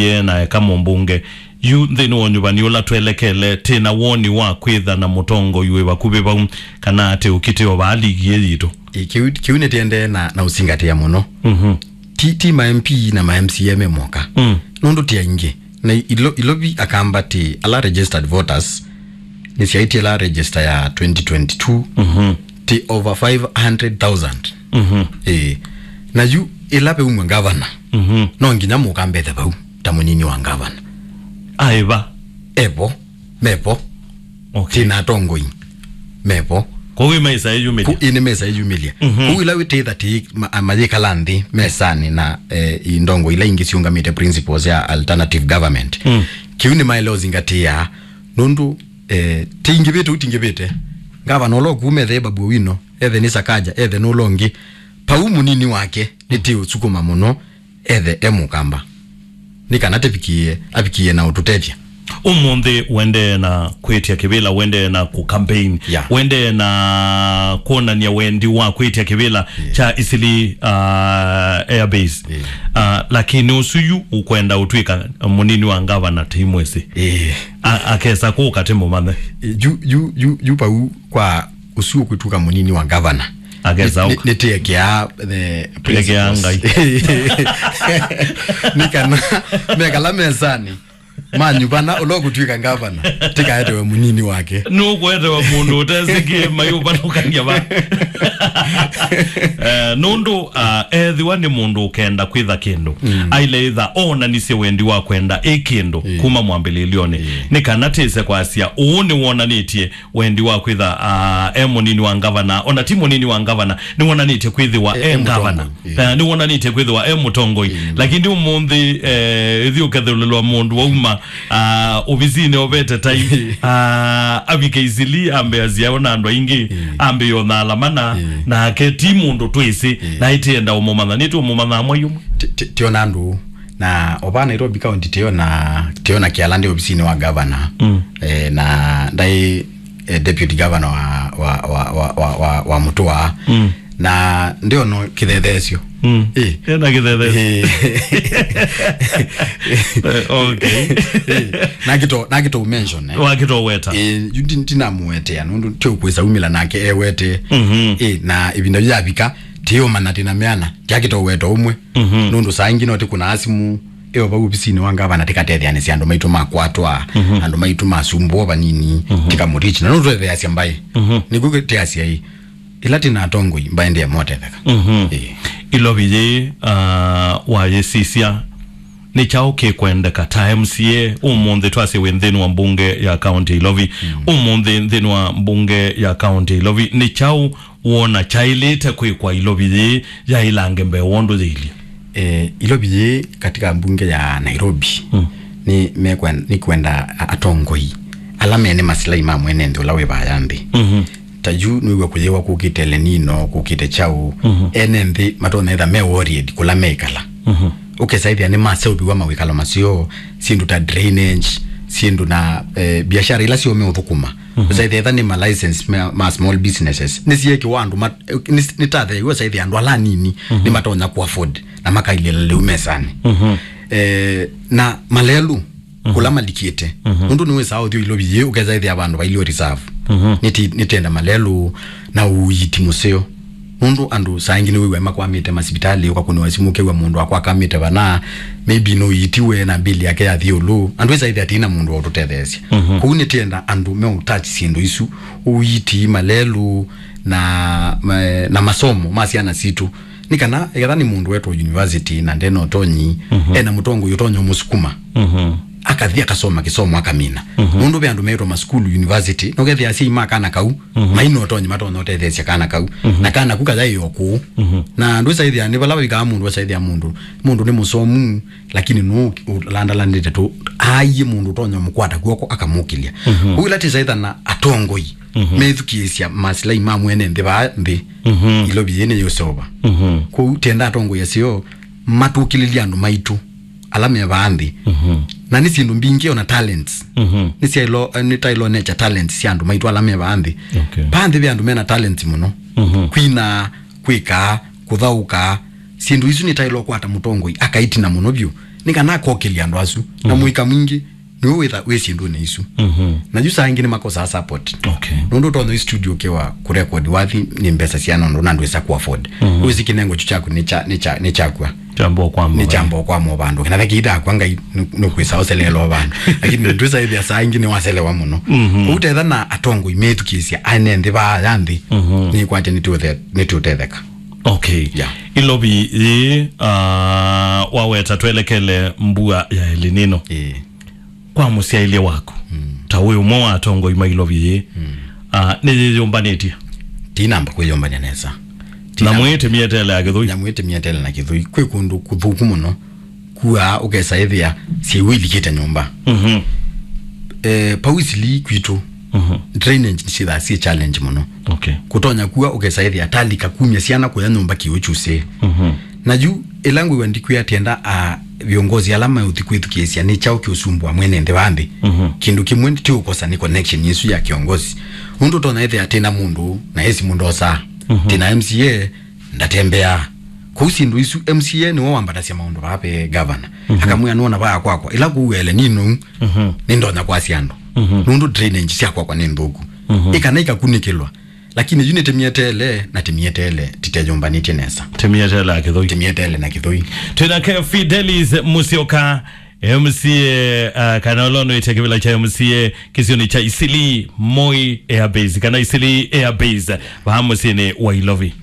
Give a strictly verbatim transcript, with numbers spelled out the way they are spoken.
Ĩ, na eka mũmbunge. Yu nthĩnĩ wa ũnyuvani ũla twelekele, twĩ na woni wa kwĩtha na mũtongoi wĩ vakuvĩ vau, kana atĩ ũkitĩ o vaa ligi ĩ yitũ? Ĩ, kĩu, kĩu nĩtĩendee na, na ũsingatĩa mũno. Mhm. Ti, ti ma M P na ma M C A me moka. Mm. Nũndũ ti aingĩ. Na ilo, Ilovi akamba ti ala registered voters, nĩsyaĩtye ĩla register ya twenty twenty-two, mhm, ti over five hundred thousand. Mhm. Ĩĩ. Na yu ĩla veumw'a ngavana, mhm, no nginya mũkambethe vau ta mũnini wa ngavana. Aĩva? Evo. Mevo. Okay. Tina atongoi. Mevo. Kwoou ĩmesa ĩyumĩlya. Ku-, ĩnĩ mesa ĩyumĩlya. Mhm. Kwoou ĩla wĩtĩtha ti ma-, mayĩkala nthĩ mesanĩ na, eh, indongo ila ingĩ siũngamĩte principles ya alternative government. Mm. Kĩu nĩmaĩle ũzingatĩa nũndũ, eh, tĩingĩvĩte, ũtingĩvĩte. Ngavana ũla ũkuu methe Babu Owino, ethe nĩ Sakaja, ethe nũla ũngĩ. Pau mũnini wake nĩtĩũsukuma mũno ethe e mũkamba. Nĩ kana tĩvikie, avikie na ũtũtethya. Ũmũnthĩ wendee na kwĩtya kĩvĩla, wendee na kũ campaign, yeah, wendee na kwonany'a wendi wa kwĩtya kĩvĩla, yeah, kya Isili, uh, Air Base. Yeah. Uh, lakini ũsu yu ũkwenda ũtw'ĩka mũnini wa ngavana tĩimwĩsĩ. Yeah. A-, akesa kũka tĩmũmanthe. Yu, yu, yu, yu pau kwa ũsu ũkwĩtuka mũnini wa ngavana. Akesa nĩ, nĩ, nĩtĩekea the principles. Ngai. Nĩ kana mekala mesanĩ, manyuvana, ũla ũkũtw'ĩka ngavana, tĩkaetewe mũnini wake. Nũkũetewa mũndũ ũtesĩkĩe mayũvanũkany'a va. Eh, nũndũ, ah, ethĩwa nĩ mũndũ ũkenda kwĩtha kĩndũ, mm, aile ĩtha oonanisye wendi wa kwenda ĩ kĩndũ, mm, kuma mwambĩlĩlyonĩ. Mm. Nĩ kana tĩse kwasya, ũũ nĩwonanĩtye wendi wa kwĩtha, ah, e mũnini wa ngavana, ona ti mũnini wa ngavana, nĩwonanĩtye kwĩthĩwa e, e, e ngavana. Mũtongoi, ĩĩ. Eh, nĩwonanĩtye kwĩthĩwa e mũtongoi. Ĩĩ. Lakini ũmũnthĩ, eh, ĩthi ũkethũlĩlwa mũndũ wauma, ah, ovisinĩ ovete tai, ah, avike Isili, ambe asiawe na andũ aingĩ, ĩĩ, ambe yona alamana, ĩĩ, nake ti mũndũ twĩsĩ, ĩĩ, na ĩtĩenda ũmũmanya, nĩtũmũmanyaa mwai ũmwe. Ti-, ti-, tiona andũ Na ova Nairobi County tĩona, tĩona kĩala ndĩ ovisinĩ wa gavana. Mm. Eh, na ndaĩ, eh, deputy governor wa, wa, wa, wa, wa, wa, wa Mũtũa. Mm. Na ndĩona kĩthetheesyo. Mm. Eh. Ena kĩthetheesyo. Eh. Eh, okay. Eh, nakĩto, nakĩto mention, eh. Wakĩto weta. Eh, yu ndi-, ndinamũwetea, nũndũ tĩ ũkwĩsa umĩla nake ewete. Mhm. Eh, na ĩvinda yavika, tĩũmanya tĩna meana, yakĩto weta ũmwe. Mhm. Nũndũ saa ingĩ no tĩkũnaa simũ, ĩyo vau ovisinĩ wa ngavana tĩkatetheanĩsya andũ maitũ makwatwa, mhm, andũ maitũ masumbũa vanini, mhm, tĩkamũtichi. Na nũndũ twetheasya mbaĩ, mhm, nĩkw'o tĩasya ĩ, ĩla tĩna atongoi, mbaĩ ndĩe motetheka. Mhm. Ĩĩ. Ilovi yĩĩ, ah, wayĩsisya, nĩ kyaũ kĩkwendeka ta M C A ũmũnthĩ twasye wĩ nthĩnĩ wa mbunge ya kaunti ya Ilovi? Mm. Ũmũnthĩ nthĩnĩ wa mbunge ya kaunti ya Ilovi, nĩ kyaũ wona kyaĩlĩte kwĩkwa Ilovi yĩĩ yaĩlange mbee wa ũndũ yĩilyĩ? Eh, Ilovi yĩĩ katika mbunge ya Nairobi, mm, nĩ mekwen-, nĩ kwenda a-, atongoi ala mene masilai ma mwene nthĩ ũla wĩ vaya nthĩ. Mhm. Ta yu nĩw'e kũyĩwa kũkĩte El Nino, kũkĩte kyaũ, mhm, ene nthĩ matonya ĩtha me worried kũla meĩkala. Mhm. Ũkesa ĩthĩa nĩ maseũviw'a mawĩkalo maseo, syĩndũ ta drainage, syĩndũ na, eh, biashara ila syo meũthũkũma. Mhm. Ũsaĩthĩa ĩtha nĩ ma license ma, ma small businesses. Nĩsiekĩwa andũ ma-, nĩ, nĩtatheew'a ũsaĩthĩa andũ ala anini, mhm, nĩmatonya kũ afford na makailĩla lĩu mesanĩ. Mhm. Eh, na malelũ, mhm, kũla malikĩte. Mhm. Nũndũ nĩwĩsaa ũthi Ilovi yĩĩ, ũkesa ĩthĩa vandũ vailio reserve. Mhm. Nĩti-, nĩtenda malelũ na ũiiti mũseo. Nũndũ andũ saa ingĩ nĩwĩw'a makwamĩte masivitalĩ, ũkakũnĩwa simũ ũkew'a mũndũ akwakamĩte vana, maybe nũiitiwe na mbili yake yathi ĩũlũ. Andũ ĩsa ĩthĩa tina mũndũ wa ũtũtetheesya. Mhm. Kwoou nĩtĩenda andũ meũtouch syĩndũ isu, ũiiti, malelũ, na, ma-, na masomo ma syana sitũ. Nĩ kana, eketha nĩ mũndũ wetwa university na ndena ũtonyi, mhm, ena mũtongoi ũtonya ũmũsukuma. Mhm. Akathi akasoma kĩsomo akamina. Mhm. Nũndũ ve andũ metwa masukulu university, nũkethĩa asyai ma kana kau, mhm, maina ũtonyi matonya ũtetheesya kana kau. Mhm. Na kana ku kayaĩ o kũu. Mhm. Na ndwĩsaĩthĩa nĩ vala vaikaa mũndũ, wasaĩthĩa mũndũ. Mũndũ nĩ mũsomu, lakini nũ ũlandalanĩte tũ, aie mũndũ ũtonya mũkwata kw'oko akamũkĩlya. Mhm. Ũu ĩla tĩsaĩtha na atongoi, mhm, methukĩĩsya masilai ma mwene nthĩ vaa nthĩ. Mhm. Ilovi yĩĩ nĩyũseũva. Mhm. Kwoou tenda atongoi aseo matũkĩlĩlye andũ maitũ ala me vaa nthĩ. Mhm. Na nĩ syĩndũ mbingĩ ona talents. Mhm. Nĩ syaĩlo, nĩ taĩlo nature talents sya andũ maitũ ala me vaa nthĩ. Okay. Vaa nthĩ ve andũ mena talents mũno. Mhm. Kwina, kwĩkaa, kũthaũka, syĩndũ isu nĩtaĩlwa kwata mũtongoi akaitina mũno vyũ. nĩ kana akokĩlya andũ asu. Na mũika mwingĩ nĩwe wĩtha wĩ syĩndũnĩ isu. Mhm. Na yu saa ingĩ nĩmakosaa support. Okay. Nũndũ ũtonya ĩ studio ũkĩwa kũrekodi wathi nĩ mbesa sia nũndũ na ndwĩsa ku afford. Mhm. Wĩsĩ kĩnengo kyu kyaku nĩ kya, nĩ kya, nĩ kyakua. Kyambo kwa nĩ mwa. Kyambo kwa mwa vandũ. Kana thaki itakwa Ngai nũkwĩsa ũseleelwa vandũ. Lakini ndwĩsa ĩthĩa saa ingĩ nĩwaselewa mũno. Mhm. Kũu tetha na atongoi methukĩĩsya ane nthĩ vaa ya nthĩ. Mhm. Nĩkwatya nĩtũthe-, nĩtũtetheka. Okay. Yeah. Ilovi yĩ, uh, waweta twelekele mbua ya El Nino. Ĩĩ. Kwa mũsyaĩlye waku, mm, ta wĩ ũmwe wa atongoi ma ilovi yĩ, mm, uh, nĩyĩyũmbanĩtye? Tinamba kwĩyũmbany'a nesa. Na mwĩtĩ mĩetele ya kĩthũi? Na mwĩtĩ mĩetele na kĩthũi. Kwĩ kũndũ kũthũku mũno. Kuaa ũkesa ĩthĩa syĩw'ũ ilikĩte nyũmba. Mhm. Eh, pau Eastleigh kwitũ, mhm, drainage nĩsyĩthaa syĩ challenge mũno. Okay. Kũtonya kua ũkesa ĩthĩa talika kumya syana kũya nyũmba kĩw'ũ kyusĩe. Mhm. Na yu ĩla ngwĩw'a ndikwĩa tienda a viongozi ala meũthi kwĩthukĩĩsya nĩ kyaũ kĩũsumbũa mwene nthĩ wa nthĩ. Mhm. Kĩndũ kĩmwe ti ũkosa nĩ connection ĩsu ya kĩongozi. Ũndũ ũtonya ĩthĩa tĩna mũndũ na esi mũndũ osaa. Mhm. Tĩna M C A ndatembeaa. Kũu syĩndũ isu, M C A nĩwe wambatasya maũndũ vaa ve gavana. Mhm. Akamwĩa nũona vaa kwakwa, ĩla kũu El Nino, mhm, nĩndonya kwasya andũ. Mhm. Nũndũ drainage sya kwakwa nĩ nthũku. Mhm. Ĩkana ikakunĩkĩlwa. Lakini yu nĩtĩmĩeteele, na tĩmĩeteele, titeyũmbanĩtye nesa. Tĩmĩeteele na kĩthũi. Tĩmĩeteele na kĩthũi. Twĩnake Fidelis Musyoka, M C A, uh, kana ũla ũnũĩte kĩvĩla kya M C A kĩsionĩ kya Eastleigh Moi Air Base, kana Eastleigh Air Base, vaa mũsyĩnĩ wa Ilovi.